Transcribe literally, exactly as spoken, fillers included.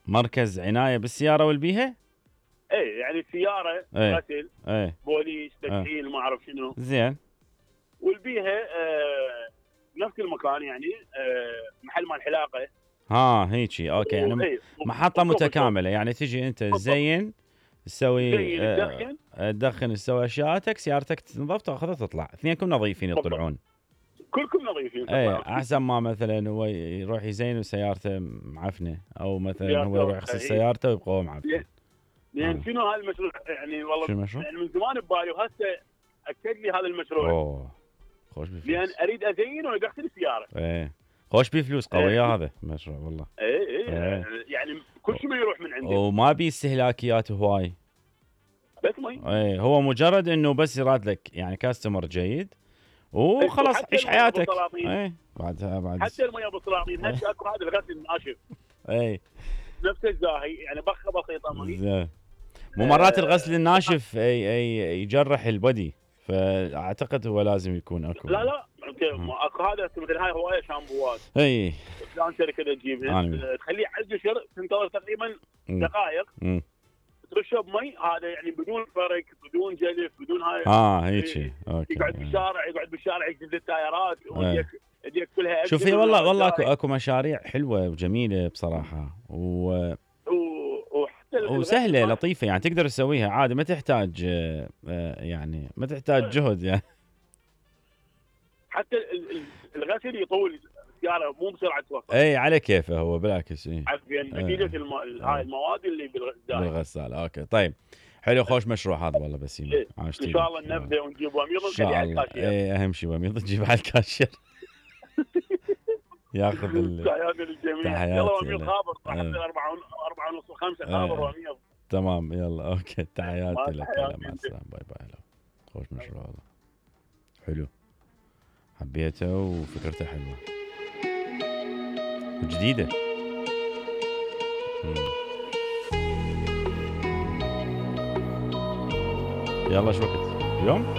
مركز عنايه بالسياره والبيها؟ ايه يعني سياره ايه غسل ايه بوليس تكحيل ما اعرف شنو. زين. والبيها آه نفس المكان يعني آه محل مال حلاقه. ها هيجي اوكي يعني ايه محطه متكامله يعني تجي انت تزين تسوي تدخن آه تدخن تسوي اشياءاتك سيارتك تنظف تاخذها تطلع اثنينكم نظيفين يطلعون كلكم نظيفين ايه احسن ما مثلا هو يروح يزين سيارته معفنه او مثلا هو يروح يغسل سيارته ويبقى هو معفن. لان آه. شنو هالمشروع يعني والله شنو المشروع؟ يعني من زمان ببالي وهسه اكد لي هذا المشروع. اوه خوش بفلوس لان اريد ازين وانا اغسل السياره. ايه خوش بفلوس قويه ايه. هذا مشروع والله. ايه ايه, ايه. يعني كل شيء ما يروح من عندي وما بي استهلاكيات هواي بس مي. ايه هو مجرد انه بس يراد لك يعني كاستمر جيد وخلاص عيش حياتك. ايه بعدها بعد حتى المياه بالسلاطين هسه اكو هذا الغسل الناشف. اي نفس الزاهي يعني بخه بسيطه مي. زين. مو مرات آه الغسل الناشف اي اي يجرح البدي فاعتقد هو لازم يكون اكو. لا لا اكو هذا مثل هاي هوايه شامبوات. اي فلان شركه تجيبها تخليه على القشر تنتظر تقريبا دقائق ترشه بمي هذا يعني بدون فرق بدون جلف بدون هاي. اه هيك اوكي. يقعد بالشارع يقعد بالشارع يجلد التايرات ويديك يديك كلها. شوفي والله والله اكو اكو مشاريع حلوه وجميله بصراحه و وسهله لطيفه يعني تقدر تسويها عادي ما تحتاج يعني ما تحتاج جهد يعني. حتى الغسل يطول السياره مو بسرعه توصل. اي على كيفه هو بالعكس. اي نتيجه هاي المواد اللي بالغساله. اوكي طيب حلو خوش مشروع هذا والله بس إيه. ان شاء الله نبدا ونجيب وميض ونخليه على الكاشير. اي اهم شيء وميض تجيب على الكاشير ياخذ ال تحياتي للجميع. يلا وميض خابر أربعة أربعة ونص خمسة خابر وميض. تمام يلا اوكي تحياتي لك. مع السلامه باي باي. خوش مشروع هذا حلو حبيته وفكرته حلوه وجديده. يلا شو وقت اليوم؟